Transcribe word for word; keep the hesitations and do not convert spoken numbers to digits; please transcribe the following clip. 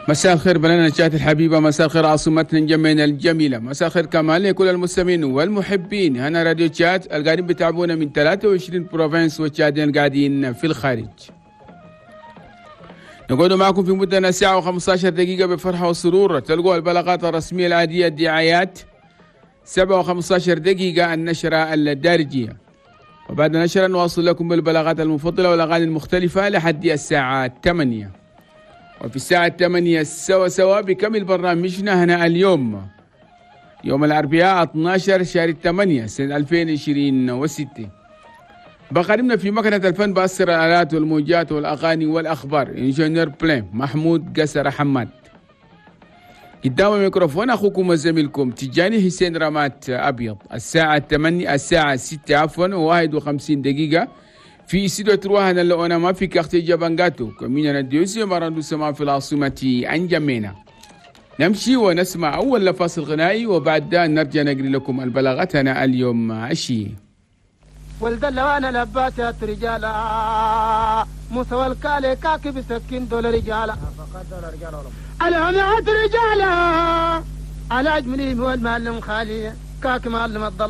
مساء الخير بلدنا تشاد الحبيبة، مساء الخير عاصمتنا انجمينا الجميلة، مساء الخير كمان لكل المستمعين والمحبين هنا راديو تشاد القاعدين بتابعونا من ثلاثة وعشرين provinces والتشاديين قاعدين في الخارج. نقعد معكم في مدة ساعة وخمسة عشر دقيقة بفرحة وسرور. تلقوا البلاغات الرسمية العادية، الدعايات، سبعة وخمسة عشر دقيقة النشرة الدارجية، وبعد النشرة نواصل لكم بالبلاغات المفضلة والأغاني المختلفة لحد الساعة ثمانية. وفي الساعة ثمانية سوا سوا بكمل برنامجنا هنا اليوم، يوم الأربعاء اثنا عشر شهر ثمانية سنة ألفين وعشرين وستة. بخدمنا في مكنة الفن بأسر الآلات والموجات والأغاني والأخبار ingénieur بلين محمود قسر حماد. قدام الميكروفون أخوكم وزميلكم تجاني حسين رمات أبيض. الساعة ثمانية، الساعة ستة عفوا وواحد وخمسين دقيقة في استوديو trois هنا l'ONAMA في quartier جابانجاتو، commune deuxième arrondissement في العاصمة أنجمينا. نمشي ونسمع أول فاصل غنائي وبعد ده نرجع نقري لكم البلاغات هنا اليوم عشي. ولد وانا لباتات رجالا موسى والكالي كاكي بسكين دول رجالا العمات رجالا على أجملهم والمعلم خالي كاكي معلم الضل.